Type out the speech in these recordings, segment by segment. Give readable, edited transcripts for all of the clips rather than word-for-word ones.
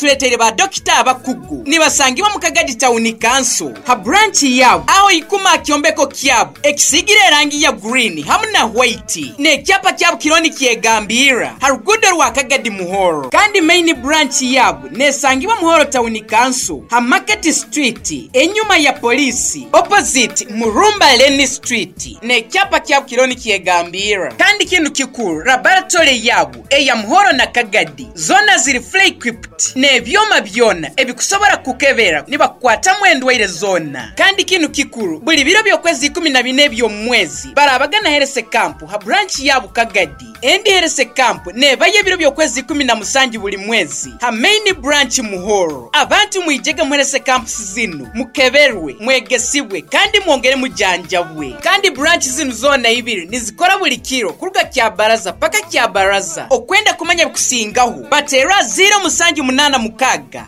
Batuleeteire ba dokita abakugu. Nibasangibwa mu Kagadi Town Council ha branch yabu aho ikuma ha kyombeko kyabu ekisiigire erangi ya green hamu na white n'ekyapa kyabu kiriho nikyegambirra ha ruguudo rwa Kagadi Muhoro. Kandi main branch yabu nesangibwa Muhoro Town Council ha Market Street enyuma ya police opposite Murumba Lane Street n'ekyapa kyabu kiriho nikyegambirra. Kandi kinu kikuru laboratory yabu eya Muhoro na Kagadi zoona ziri fully equipped n'ebyoma byona ebikusobora kukukebera nibakukwatamu endwaire zoona. Kandi kinu kikuru, buli biro by'okwezi 14 eby'omu mwezi barabaga na Health Camp ha branch yabu Kagadi. Endi Health Camp nebayo ebiro by'okwezi 17 buli mwezi ha main branch Muhoro. Abantu mwijege mu Health Camps zinu mukeberwe, mwegesibwe kandi mwongere mujanjabwe. Kandi branch zinu zoona ibiri nizikora buli kiro kuruga Kyabaraza paka Kyabaraza. Okwenda kumanya ebikusingaho, bateerwa 0786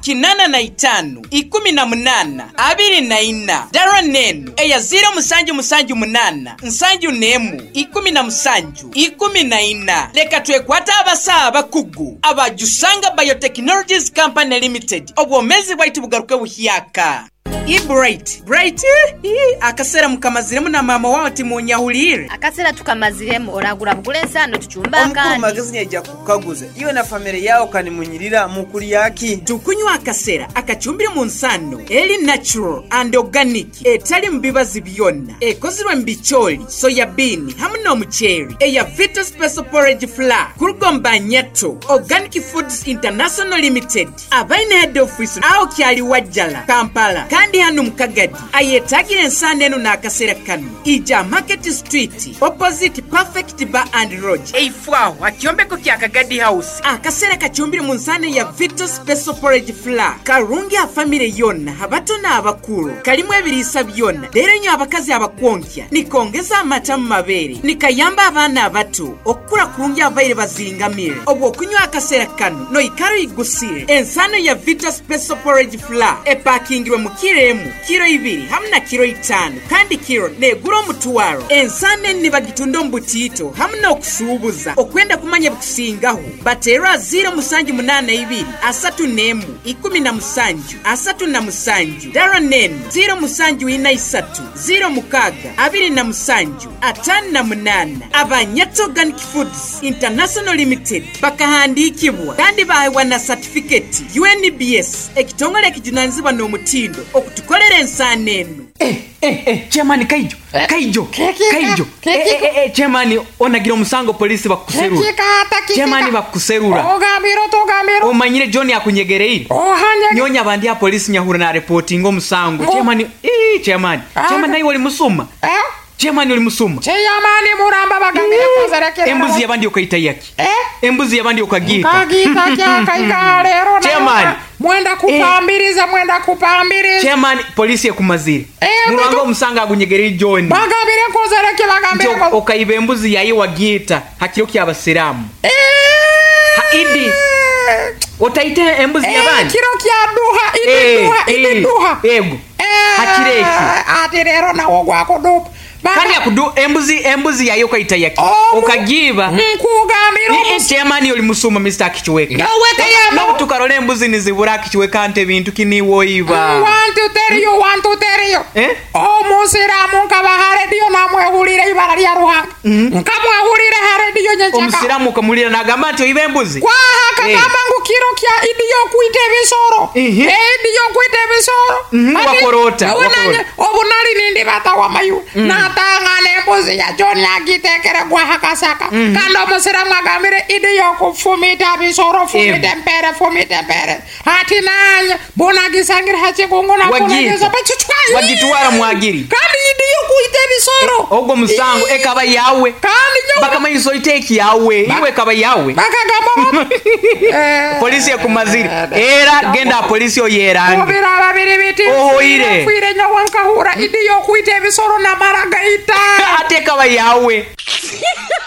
85 18 24. Dara n'enu eya 0778 71 17 14. Leka twekwate abasawo abakugu aba Jusanga Biotechnologies Company Limited obwomeezi bwaitu bugaruke buhyaka. Ii Bright, Bright ii akasera mukamaziremu na maama wawe timunyahuliire? Akasera tukamaziremu oragura bugura ensaano tucumbe Omukuru akandi. Magezi nyaija kukukaguza, iwe na famire yaawe kanimunyirira mukulya ki? Tukunywa akasera akacumbire mu nsaano eri natural and organic etalimu bibazi byona, ekozirwe mu bicooli, soya bean hamu n'omuceeri eya Vito Special Porridge Flour kuruga omu Banyato Organic Foods International Limited. Abaine head office agho Kyaliwajjala, Kampala kandi hanu mu Kagadi. Ayetagire ensaano enu n'akasera kanu, ija Market Street opposite Perfect Bar and Lodge eifo agho ha kyombeko kya Kagadi House. Akasera kacumbire mu nsaano eya Vito Special Porridge Flour karungi ha famire yona, abato n'abakuru. Kalimu ebiriisa byona reero inywe abakazi abakwonkya nikongeza amata mu mabeere, nikayamba abaana abato okukura kurungi ababaire bazingamire. Obw'okunywa akasera kanu noikara oigusire. Ensaano ya Vita Special Porridge Flour epakingirwe mu kiro emu, kiro ibiri hamu na kiro itaanu kandi kiro negura omutwaro. Ensaano enu nibagitunda omu butiito hamu n'okusuubuza. Okwenda kumanya ebikusingaho, bateerwe aha 0782 31 17 37. Dara n'enu, 0743 06 27 58. Aba Nyata Organic Foods International Limited bakahandiikibwa kandi baahebwa na satifiketi UNBS, ekitongole ekijunanizibwa n'omutindo okutukolera ensaano enu. Eh eh eh chairman Kaijo Kaijo Kaijo eh eh eh chairman onagira omusango police bakukuserura chairman bakukuserura omanyire John akunyegereire nyowe nyaba ndi aha police nyahura na reportinga omusango chairman ii chairman chairman naiwe oli musuma Chairman oli musuma. Chairman Muramba bagambire Eeh embuzi yabandi okaita yaki? Embuzi yabandi okagiita? Nkagiita kyakaika leero nayo Chairman mwenda eeh kupambiriza mwenda kupambiriza. Chairman police ekumazire. Eeh Mulwange baitu omusango agunyegereire John. Bagambire nkozere ki Nti bagambire nkoze. okaiba embuzi yaye wagiita ha kiro kya basiramu. Ha Idi Eeh otaite embuzi Eeh yabandi? kiro kya duha Idi Eeh duha Idi eeh duha. ego. Ha kiro ekyo. Ati leero nawe ogwakudupa. Kandi akudu embuzi embuzi yaye okaita yaki? Okagiiba. Nkugambira Ii chairman oli musuma Mister Akichweka. Nyowe kayamba. Nobu tukarora embuzi nizibura Akichweka nti ebintu ki niiwe oiba. Want to tell you, want to tell you. Eh? Omusiraamu nkaba ha rediyo namwehulira eibara lya Ruhanga. Nkamwehulira ha rediyo nyenkyakara. Omusiraamu okamuhulira nagamba nti oiba embuzi? Kwaha akagamba ngu kiro kya Idi y'okwita ebisoro. Eidi y'okwita ebisoro. Hati Wakora ota? nyowe Wakora nanye ota? obu nali nindibata wamaiwe, natangana embuzi ya John agitekere gwaha kasaka. Kandi omusiraamu agambire Idi y'okufumita bisoro, fumita Ego. empere, fumita empere. Hati nanye bunagisangire ha kikungu Wagiita, wagitwara mwagiri. Kandi idi y'okwita ebisoro. Ogwo musango ekaba yawe. Kandi nyowe Bakamanyisa oite eki yawe, iwe ekaba yawe. Bakagamba bati, Polisi ekumazire. Era genda aha polisi oyerange. Ku biraba biri biti, Ohoire. nfiire nyowe nkahurra idi y'okwita ebisoro namara gaita. Ate ekaba yawe.